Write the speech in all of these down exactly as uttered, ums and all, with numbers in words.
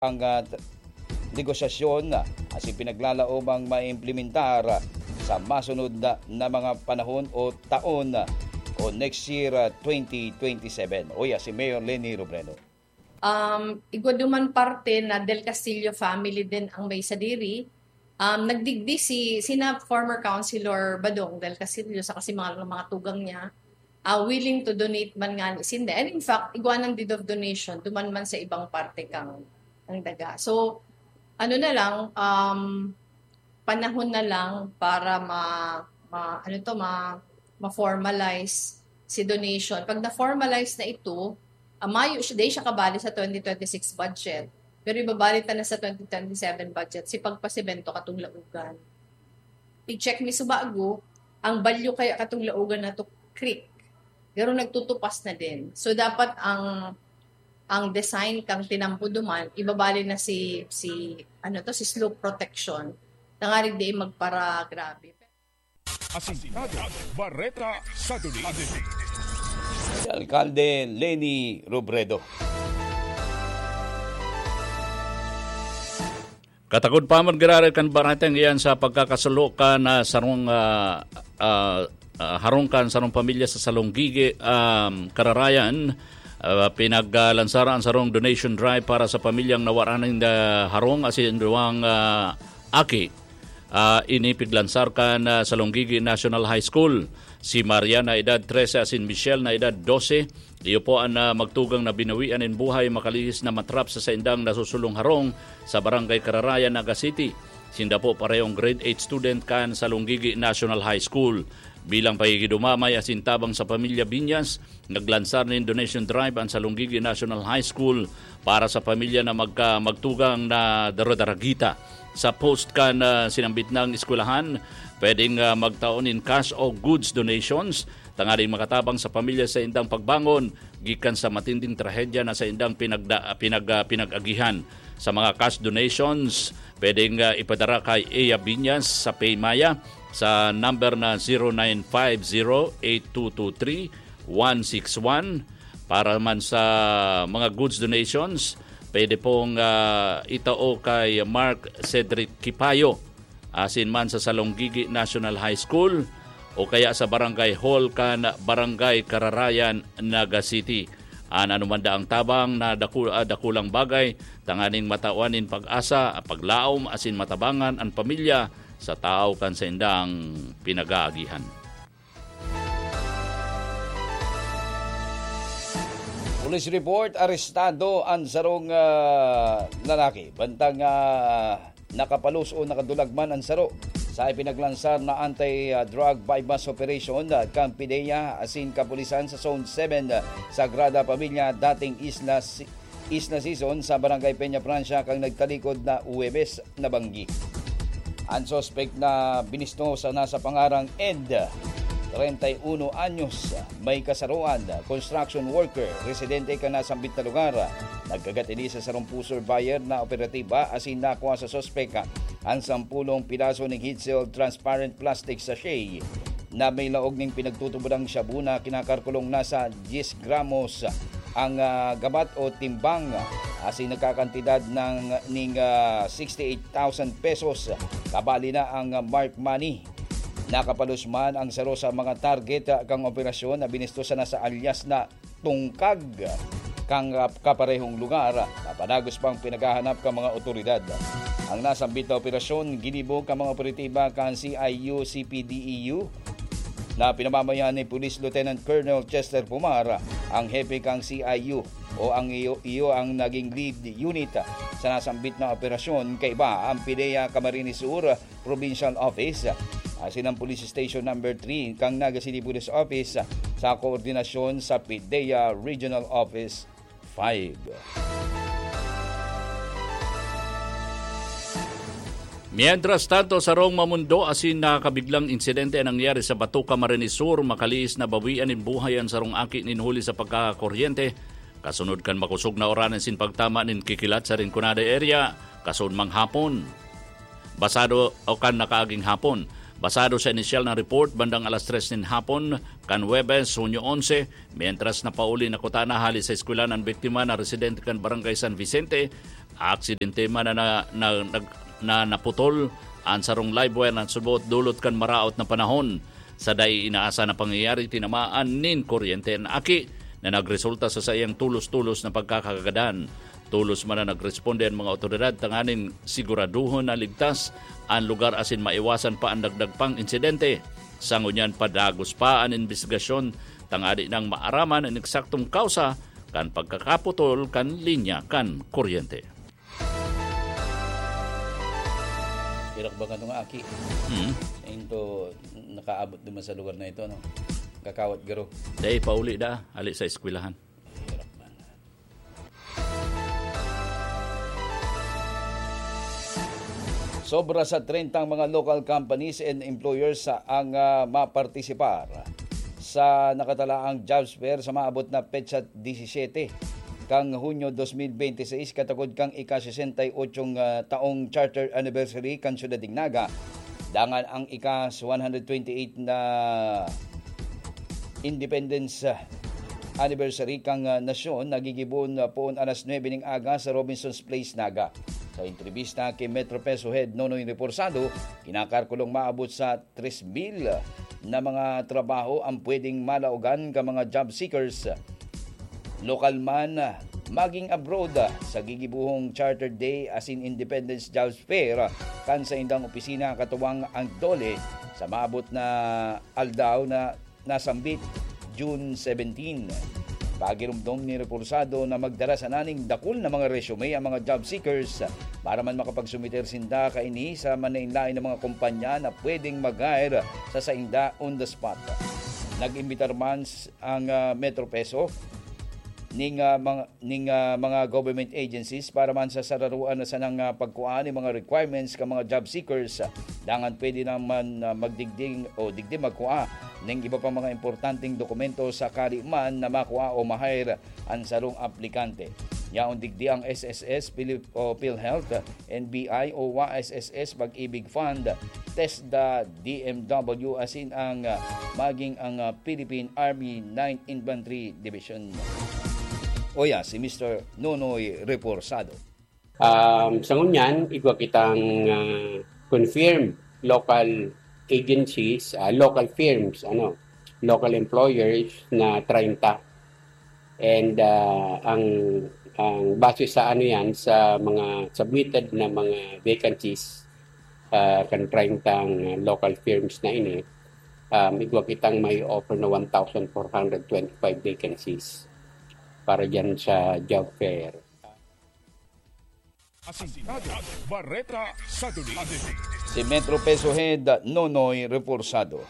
ang, ah, t-, negosasyon, ah, asin pinaglalaomang maimplementar, ah, sa masunod na, na mga panahon o taon, ah, o next year, ah, twenty twenty-seven. Uya, si Mayor Leni Robredo. Um, igwa duman parte na Del Castillo family din ang may sadiri. Um, nagdigdi si, sina former Councilor Badong Del Castillo, saka si mga, mga tugang niya, ah, willing to donate man nga ni sinda. And in fact, igwa ng deed of donation, duman man sa ibang parte kang, kang daga. So, ano na lang, um, panahon na lang para ma, ma, ano to, ma, ma-formalize si donation. Pag na-formalize na ito, ah, mayo siya, di siya kabali sa twenty twenty-six budget. Pero ibabali ta na sa twenty twenty-seven budget, si pagpasemento katong Laugan. I-check mi sa bago, ang balyo kaya katong Laugan na to, creek. Pero nagtutupas na din. So, dapat ang, ang design kang tinampo duman, ibabali na si, si, ano to, si slope protection. Tangarig di magparagrabe. Asintado, Bareta sa Duli. Si Alkalde Leni Robredo. Katakod pa man giraray kan baretang iyan sa pagkakasalo kan, ah, sarong, ah, ah, ah, harong kan sarong pamilya sa Salonggigi, um, Kararayan. Ah, pinaglansar an sarong donation drive para sa pamilyang nawaran nin, ah, harong asin duwang, ah, aki. Ah, ini piglansar kan, ah, Salonggigi National High School. Si Maria na edad trese asin Michelle na edad dose. Iyo po an, ah, magtugang na binawian nin buhay makalihis na matrap sa saindang nasusulong harong sa Barangay Kararayan, Naga City. Sinda po parehong grade eight student kan Salonggigi National High School. Bilang pakikidumamay asin tabang sa pamilya Binyas, naglansar nin donation drive an Salonggigi National High School para sa pamilya na magka-, magtugang na daradaragita. Sa post kan, ah, sinambit nang eskwelahan, pwedeng, ah, magtao nin cash o goods donations tanganing makatabang sa pamilya sa indang pagbangon gikan sa matinding trahedya na sa indang pinagda-, pinag-, ah, pinag-agihan. Sa mga cash donations, pwedeng, ah, ipadara kay Ea Binyas sa PayMaya sa number na zero nine five zero eight two two three one six one. Para man sa mga goods donations, pwede pong, ah, itao kay Mark Cedric Kipayo, asin man sa Salonggigi National High School o kaya sa Barangay Hall kan Barangay Kararayan, Naga City. An anuman daang tabang na daku-, ah, dakulang bagay tanganing matawan nin pag-asa, paglaom asin matabangan an pamilya sa tawo kan saindang pinag-aagihan. Police report, arestado an sarong, ah, lalaki. Bantang, ah, nakapalos o nakadulag man an saro sa ipinaglansar na anti-drug buy-bust operation, ah, kan PDEA asin kapulisan sa Zone seven, ah, Sagrada Familia, dating Isla Si-, Isla Sison sa Barangay Peña Francia kan nagtalikod na Huwebes na banggi. An suspek na binisto sa nasa pangarang Ed, treinta y uno anyos, may kasaroan, construction worker, residente kan nasambit na lugar. Nagkagat ini sa sarong pusher buyer na operatiba asin nakua sa suspek an sampulong piraso nin heat-sealed transparent plastic sachet na may laog nin pinagtutubodang shabu na kinakalkulong nasa diyes gramos ang, ah, gabat o timbang, asin nagkakantidad ng, ning, ah, sixty-eight thousand pesos, kabali na ang, ah, marked money. Nakapalos man ang saro sa mga target, ah, kang operasyon na binisto sa nasa alias na tungkag kan, ah, kaparehong lugar na padagos pang pinaghahanap kan mga otoridad. Ang nasambit na operasyon ginibo kan mga operatiba kan C I U C P D E U na pinamamayan ni Police Lieutenant Colonel Chester Pumar, ang hepe kan C I U, o ang iyo, iyo ang naging lead unit sa nasambit na operasyon. Kaiba ang PDEA Camarines Sur Provincial Office, asin ang Police Station Number three kan Naga City Police Office sa koordinasyon sa PDEA Regional Office five. Mientras tanto, sarong mamundo asin nakakabiglang insidente an nangyari sa Bato, Camarines Sur. Makalihis na bawian nin buhay an sarong aki nin huli sa pagkakakuryente, kasunod kan makosog na uran asin pagtama nin kikilat sa Rinconada area, kasunod manghapon. Pasado o kan nakaaging hapon, Basado sa inisyal na report, bandang alas tres nin hapon kan Huwebes, Hunyo onse, mientras napauli na kutana hali sa eskwelahan an biktima na residente kan Barangay San Vicente, aksidente man na, na, na, nag- na naputol an sarong live wire na subot dulot kan maraot na panahon. Sa dai inaasa na pangyayari, tinamaan nin kuryente an aki na nagresulta sa saiyang tulos-tulos na pagkakagadan. Tulos man na nagresponde an mga awtoridad tanganing siguraduhon na ligtas an lugar asin maiwasan pa an dagdag pang insidente. Sa ngunyan, padagos pa an imbestigasyon tangani nang maaraman an eksaktong kausa kan pagkakaputol kan linya kan kuryente. Irak ba nga nga aki? Hmm. Into, nakaabot naman sa lugar na ito, no? Kakawat garo. Dai, pauli da, ali sa eskwelahan. Sobra sa treinta ang mga local companies and employers sa ang, ah, mapartisipar sa nakatalaang jobs fair sa maabot na petsa disisete kan Hunyo dos mil bente seis, katagod kan ika-sesenta y ocho, ah, taong charter anniversary kan Syudad nin Naga, dangan ang ika-one hundred twenty-eight na Independence, ah, Anniversary kan, ah, nasyon na gigibohon, ah, poon alas nuebe ning aga sa Robinson's Place, Naga. Sa entrebista ki Metro Peso Head Nonoy Reforzado, kinakalkulong maabot sa tres mil na mga trabaho ang pwedeng malaogan kan mga job seekers, lokal man, maging abroad, sa gigibohong Charter Day asin Independence Jobs Fair kan saindang opisina katuwang ang DOLE sa maabot na aldaw na nasambit, June seventeen. Pagiromdom ni Reforzado na magdara sana ning dakul na mga resume ang mga job seekers para man makapagsumiter sinda kaini sa manlaen-laen na mga kumpanya na pwedeng mag-hire sa sainda on the spot. Nag-imbitar man s-, ang, ah, Metro Peso ning, ah, mga ning, ah, mga government agencies para man sa sararoan na sanang, ah, pagkua nin mga requirements kan mga job seekers. Dangan pwede naman, ah, magdigdi o digdi magkua ning iba pang mga importanteng dokumento sakali man na makua o ma-hire an sarong aplikante. Yaon digdi ang S S S, Philip-, o PhilHealth, N B I o wa S S S, Pag-ibig Fund, TESDA, D M W, asin ang, ah, maging ang, ah, Philippine Army Ninth Infantry Division. Oya, si Mister Nonoy Reforzado. Um, sa ngunyan, igwa kitang, ah, confirmed local agencies, ah, local firms, ano, local employers na treinta. And, ah, ang, ang base sa ano yan, sa mga submitted na mga vacancies, ah, kan treinta local firms na ini, um, igwa kitang may offer na one thousand four hundred twenty-five vacancies para dyan sa job fair. Asintado, Bareta sa Duli. Si Metro Peso Head Nonoy Reforzado.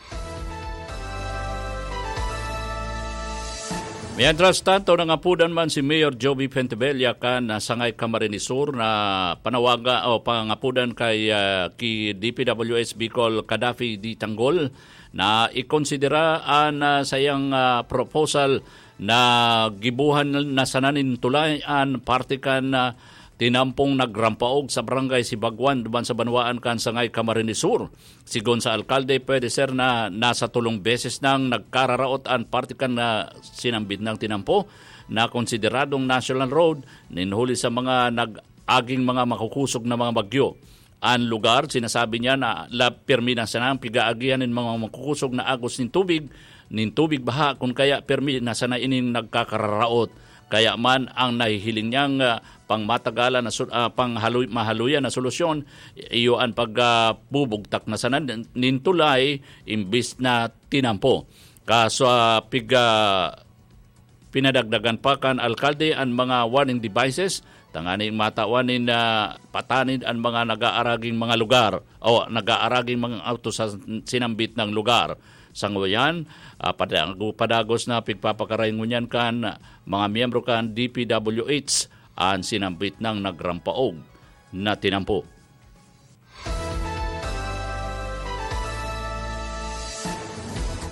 Mientras tanto, nangapudan man si Mayor Joby Pentebella kan, ah, Sangay Camarines Sur na panawaga o pangapudan kay, ah, ki D P W H Bicol Cadafi D. Tanggol na ikonsidera an, ah, sayang, ah, proposal na gibuhan na sana nin tulay an parte kan, ah, tinampong nagrampaog sa Barangay Sibagwan duman sa banwaan kan Sangay Camarines Sur. Sigon sa alkalde, pwede ser na nasa tolong beses nang nagkararaot an parte kan, ah, sinambit nang tinampo na konsideradong national road nin huli sa mga nag-aging mga makukusog na mga bagyo. An lugar, sinasabi niya na la, pirmi na sana ang pigaagihan nin mga makukusog na agos nin tubig, nin tubig baha, kun kaya pirmi na sana ining nagkakararaot. Kaya man ang nahihiling niyang, ah, pangmatagalan na su-, ah, panghaloy-, mahaluyan na solusyon, iyo an pag, ah, bubugtak na sana nin, nin tulay imbis na tinampo. Kaso, ah, pig, ah, pinadagdagan pa kan alkalde an mga warning devices tanganing matawan nin, ah, patanid an mga nag-aaraging mga lugar o nag-aaraging mga auto sa sinambit na lugar. Sa ngayon, ah, padago-, padagos na pigpapakaray ngunyan kan mga miyembro kan D P W H an sinambit na nagrampaog na tinampo.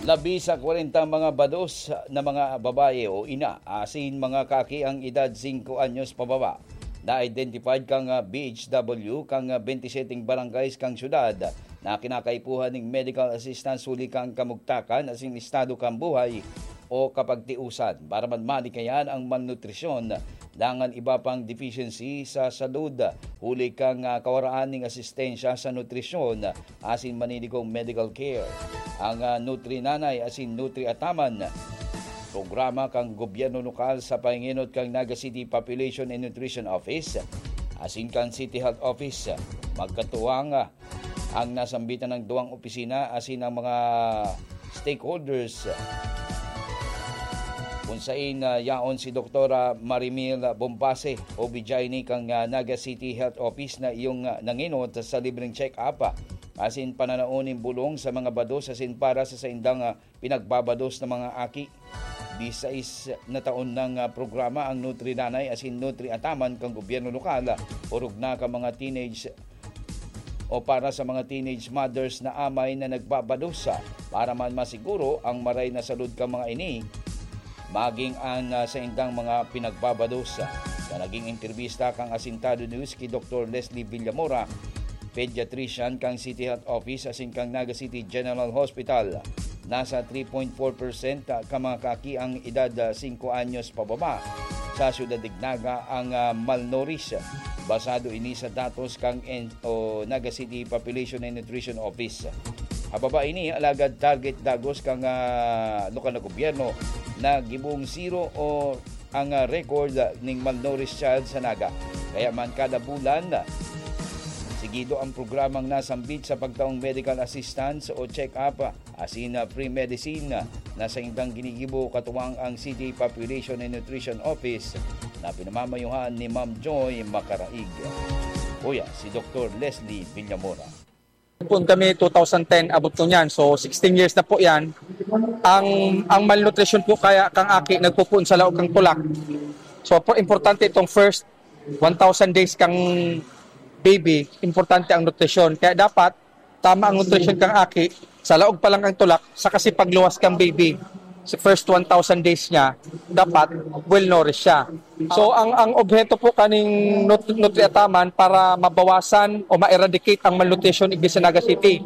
Labi sa kwarenta mga bados na mga babae o ina asin mga kaki ang edad singko anyos pababa na identified kan, ah, B H W kan, ah, bente seteng barangays kan syudad na na kinakaipuhan ning medical assistance huli kan kamugtakan asin estado kan buhay o kapagtiusan. Para man malikayan ang malnutrisyon, dangan iba pang deficiency sa salud, huli kan, ah, kawaraan ning asistensya sa nutrisyon asin maniligong medical care. Ang, ah, Nutri Nanay asin Nutri Ataman, programa kan gobyerno lokal sa panginot kan Naga City Population and Nutrition Office asin kan City Health Office, magkatuwang, ah, ang nasambitan ng duwang opisina asin ang mga stakeholders, kung sain, ah, yaon si Doktora Marimil Bombase, O B G Y N kan, ah, Naga City Health Office na iyong, ah, nangenot sa libreng check-up, ah, asin pananaon nin bulong sa mga bados asin para sa saindang, ah, pinagbabados na mga aki. Disais na taon nang, ah, programa ang Nutri Nanay asin Nutri Ataman kan gobyerno lokal, ah, orog na kan mga teenage o para sa mga teenage mothers na amay na nagbabados, ah, para man masiguro ang maray na salud kan mga ini, maging ang, ah, saindang mga pinagbabados. Sa naging entrevista kan Asintado News ki Doktor Leslie Villamora, pediatrician kan City Health Office asin kan Naga City General Hospital, nasa three point four percent ka mga kaaki ang edad, ah, singko anyos pababa sa siyudad nin Naga ang, ah, malnourished. Basado ini sa datos kan N-, o Naga City Population and Nutrition Office. Hababa ini, alagad target dagos kan, ah, lokal na gobyerno na gibong zero o ang, ah, record ning malnourished child sa Naga. Kaya man kada bulan, sigido ang programang nasambit sa pagtaong medical assistance o check-up, asin, ah, free medicine na saindang ginigibo katuwang ang City Population and Nutrition Office na pinamamayuhan ni Ma'am Joy Macaraig. Kuya, si Doktor Leslie Villamora. Poon kami two thousand ten, abot ko niyan. So, sixteen years na po yan. Ang, ang malnutrition po kaya kang aki nagpupuon sa laog kang tulak. So, po, importante itong first one thousand days kang baby, importante ang nutrisyon. Kaya dapat, tama ang nutrisyon kang aki, sa laog pa lang kang tulak, sa kasi pagluwas kang baby, sa first one thousand days niya, dapat well-nourished siya. So, ang, ang obheto po kaning nut-, Nutri Ataman para mabawasan o ma-eradicate ang malnutrition igdi sa Naga City.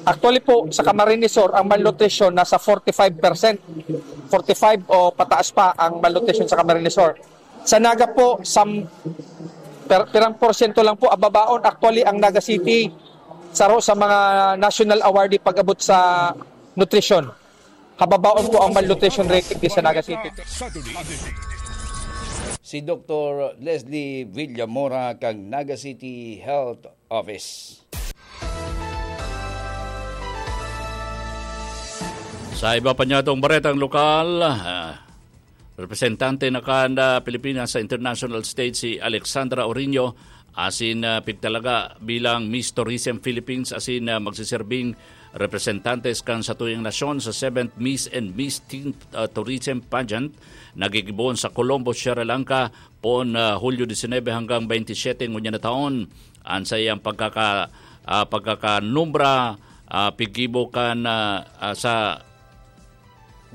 Actually po, sa Camarines Sur, ang malnutrition nasa forty-five percent. Forty-five o pataas pa ang malnutrition sa Camarines Sur. Sa Naga po, sam-, per-, pirang porsyento lang po ababaon. Actually, ang Naga City, saro sa mga national awardee pag-abot sa nutrisyon. Hababaon po ang malnutrition rate igdi sa Naga City. Si Doktor Leslie Villamora kan Naga City Health Office. Sa iba pa niyatong baretang lokal, ah, representante na kan, ah, Pilipinas sa international stage si Alexandra Orino, asin, ah, pigtalaga bilang Miss Tourism Philippines, asin, ah, magsiserbing representantes kan satuyang nasyon sa seventh Miss and Miss Teen, ah, Tourism Pageant na gigibohon sa Colombo, Sri Lanka, poon, ah, Hulyo disinebe hanggang bente siyete ngunyan na taon. An saiyang pagkaka-, ah, pagkakanumbra, ah, piggibo kan, ah, ah, sa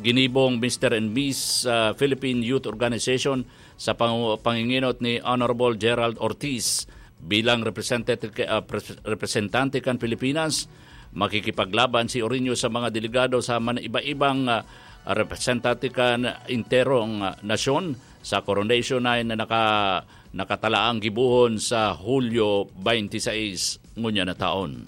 ginibong Mister and Miss, ah, Philippine Youth Organization sa pang-, panginginot ni Honorable Gerald Ortiz. Bilang representative, ah, pres-, representante kan Pilipinas, makikipaglaban si Orino sa mga delegado sa man-, iba-ibang, ah, representante kan enterong, ah, nasyon sa Coronation Night na naka-, nakatalaang gibohon sa Hulyo twenty-six ngunyan na taon.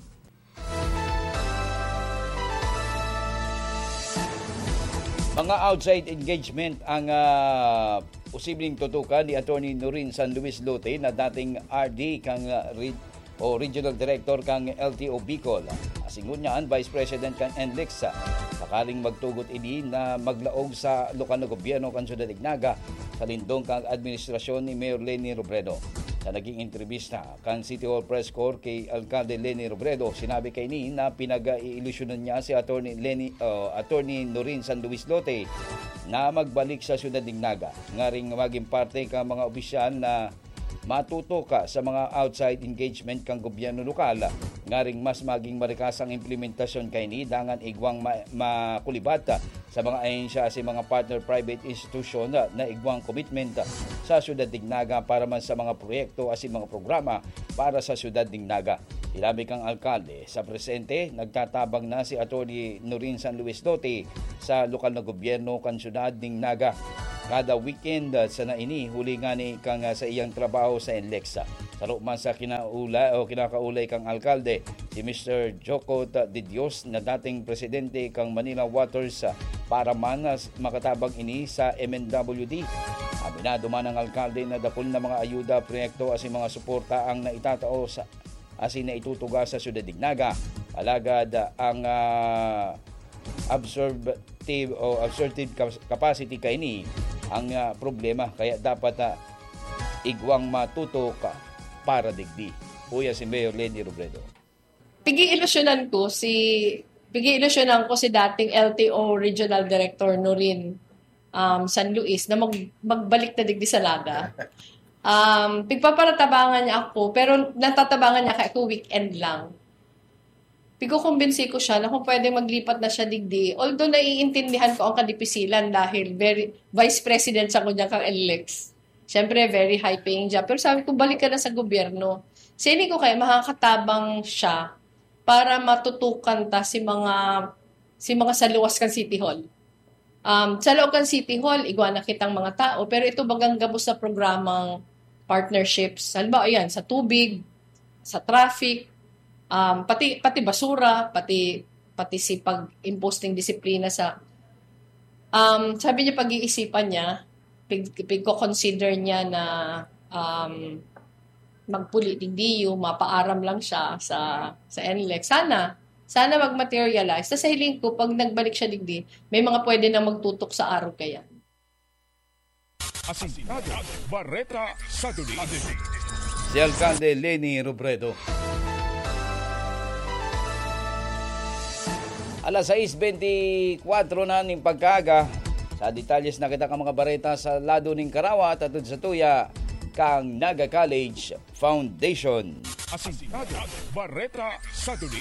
Mga outside engagement ang, ah, posibleng tutukan ni Attorney Norin San Luis Lote na dating R D kang, ah, re-, o Regional Director kang L T O Bicol. Asin ngunyan, Vice President kang N L E X. Sakaling magtugot ini na maglaog sa lokal na gobyerno kan Syudad nin Naga, sa lindong kang administrasyon ni Mayor Leni Robredo. Sa naging entrevista, kan City Hall Press Corps ki Alcalde Leni Robredo, sinabi kaini na pinag-iilusyonan niya si Attorney Leni, ah, Attorney Norin San Luis Lote na magbalik sa siyudad nin Naga, ngaring magin parte kan mga opisyal na matutuka sa mga outside engagement kan gobyerno lokal, ngaring mas magin marikas ang implementasyon kaini dangan igwang ma-, makulibat sa mga ahensya asin mga partner private institution na igwang commitment sa siyudad nin Naga para man sa mga proyekto asin mga programa para sa siyudad nin Naga. Sinabi kang alkalde, sa presente, nagtatabang na si Attorney Norin San Luis Dote sa lokal na gobyerno kan syudad ning Naga. Kada weekend, ah, sana ini, huli ngani kang, ah, sa iyang trabaho sa NLEX. Saro man sa kinaula o kinakaulay kang alkalde, si Mister Jocot de Dios na dating presidente kang Manila Waters, ah, para man, ah, makatabang ini sa M N W D. Aminado man ang alkalde na dakul na mga ayuda, proyekto asin mga suporta ang naitatao sa asin naitutuga sa Syudad nin Naga. Alagad, ah, ang, ah, absorptive o absorptive cas-, capacity kaini ang, ah, problema, kaya dapat, ah, igwang matutok para digdi. Uya si Mayor Leni Robredo. Pigi-ilusyonan ko si pigi-ilusyonan ko si dating L T O Regional Director Norin, um, San Luis na mag-, magbalik na digdi sa Naga. Um, pigpaparatabangan niya ako, pero natatabangan niya ako weekend lang. Pigkukumbinsi ko siya na kung pwede maglipat na siya digdi. Although naiintindihan ko ang kadipisilan dahil very, vice president siya ngunyan kang NLEX. Siyempre, very high paying job. Pero sabi ko, balik ka na sa gobyerno. Sini ko kaya makakatabang siya para matutukan ta si mga si mga saluwas kan City Hall. Um, sa loob kan City Hall, igwa na kitang mga tao, pero ito bagang gabos sa programang partnerships. Halimbawa, ayan, sa tubig, sa traffic, um, pati pati basura, pati pati si pag-impose ng disiplina sa um, sabi niya pag-iisipan niya, pig, pigko-consider niya na um, magpuli digdi, mapaaram lang siya sa sa NLEX. Sana sana mag-materialize. Sa hiling ko, pag nagbalik siya digdi, may mga pwede na magtutok sa arog kaya. Asintado, Bareta sa Duli. Si Alkalde Leni Robredo. Alas sais bentikwatro na ning pagkaaga. Sa detalyes na kita ka mga bareta sa lado ning Karawa, tatud sa tuya kang Naga College Foundation. Asintado, Bareta sa Duli.